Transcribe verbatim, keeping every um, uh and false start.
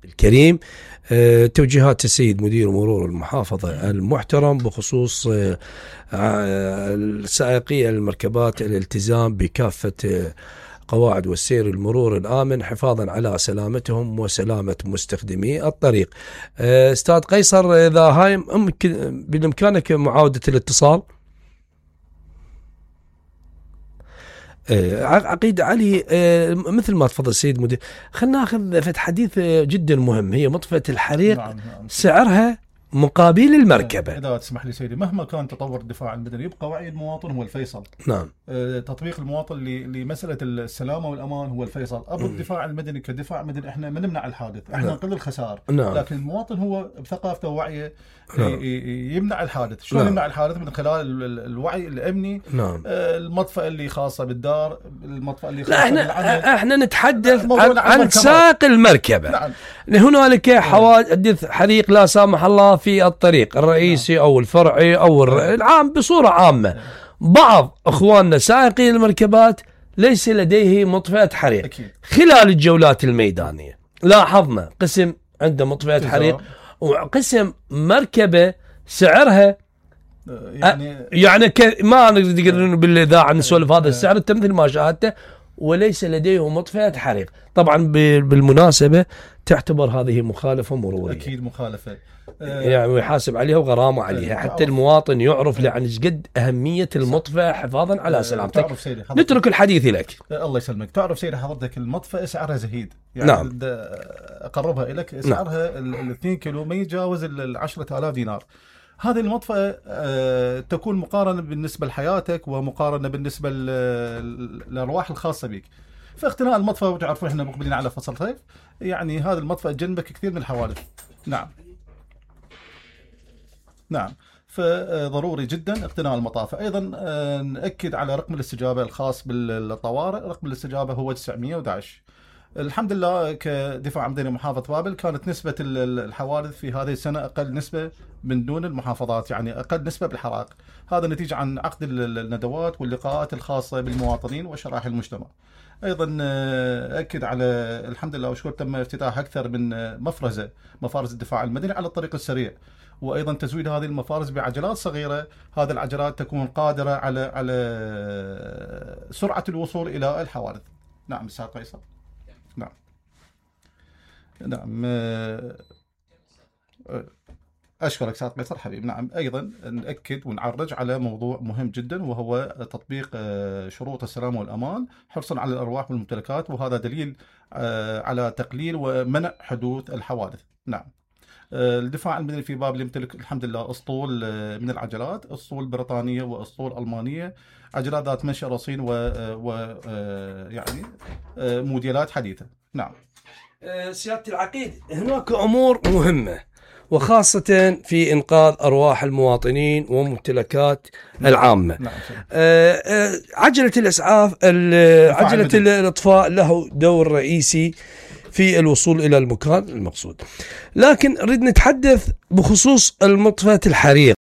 الكريم. أه توجيهات السيد مدير مرور المحافظة المحترم بخصوص أه السائقي المركبات الالتزام بكافة أه قواعد والسير المرور الآمن حفاظا على سلامتهم وسلامة مستخدمي الطريق. أه استاذ قيصر، إذا هاي بالإمكانك معاودة الاتصال. عقيد علي، مثل ما تفضل السيد مدير، خلنا ناخذ في حديث جدا مهم، هي مطفئة الحريق. نعم نعم. سعرها مقابل المركبة. إذا تسمح لي سيدي، مهما كان تطور الدفاع المدني يبقى وعي المواطن هو الفيصل. نعم. تطبيق المواطن لمسألة السلامة والأمان هو الفيصل. أبو الدفاع المدني كدفاع مدني إحنا ما نمنع الحادث، إحنا نقل الخسائر. نعم. لكن المواطن هو بثقافته ووعيه نعم. يمنع الحادث. شلون نعم. يمنع الحادث؟ من خلال الوعي الأمني. نعم. المطفأة اللي خاصة بالدار، المطفأة اللي خاصة بالعمل. احنا احنا نتحدث عن, عن سائق المركبة. نعم. هنالك حوادث حريق لا سامح الله في الطريق الرئيسي نعم. أو الفرعي أو العام بصورة عامة. نعم. بعض أخواننا سائقي المركبات ليس لديه مطفئة حريق. أكيد. خلال الجولات الميدانية لاحظنا قسم عنده مطفئة حريق وقسم مركبة سعرها يعني أ... يعني ك... ما نقدر بالإذاعة نسولف هذا السعر أنت مثل ما شاهدته، وليس لديه مطفئة حريق. طبعا بالمناسبة تعتبر هذه مخالفة مرورية. أكيد مخالفة، يعني ويحاسب عليها وغرامة عليها حتى المواطن يعرف لعن قد أهمية المطفئة حفاظا على سلامتك. نترك الحديث لك. الله يسلمك. تعرف سيدي حضرتك المطفئة سعرها زهيد، يعني نعم. أقربها لك سعرها نعم. الاثنين كيلو ما يتجاوز العشرة آلاف دينار. هذه المطفئة أه تكون مقارنة بالنسبة لحياتك ومقارنة بالنسبة للأرواح الخاصة بك. فاقتناء المطفئة، وتعرفون احنا مقبلين على فصل صيف، يعني هذا المطفئة تجنبك كثير من الحوادث. نعم نعم. فضروري جدا اقتناء المطافئ. ايضا نأكد على رقم الاستجابة الخاص بالطوارئ. رقم الاستجابة هو تسعمئة وأحد عشر. الحمد لله كدفاع مدني محافظة بابل كانت نسبة الحوادث في هذه السنة أقل نسبة من دون المحافظات، يعني أقل نسبة بالحرائق. هذا نتيجة عن عقد الندوات واللقاءات الخاصة بالمواطنين وشرائح المجتمع. أيضا أكد على الحمد لله وشكر تم افتتاح أكثر من مفرزة مفارز الدفاع المدني على الطريق السريع، وأيضا تزويد هذه المفارز بعجلات صغيرة. هذه العجلات تكون قادرة على على سرعة الوصول إلى الحوادث. نعم أستاذ قيصر. نعم نعم. أشكرك أستاذ قيصر حبيب. نعم. أيضا نأكد ونعرج على موضوع مهم جدا، وهو تطبيق شروط السلامة والأمان حرصا على الأرواح والممتلكات، وهذا دليل على تقليل ومنع حدوث الحوادث. نعم. الدفاع المدني في بابل يمتلك الحمد لله أسطول من العجلات، أسطول بريطانية وأسطول ألمانية، عجلات ذات منشأ رصين و, و... يعني موديلات حديثة. نعم. سيادة العقيد، هناك أمور مهمة وخاصة في إنقاذ أرواح المواطنين وممتلكات العامة. نعم. عجلة الإسعاف، عجلة الإطفاء له دور رئيسي في الوصول إلى المكان المقصود، لكن نريد نتحدث بخصوص المطفئة الحريق.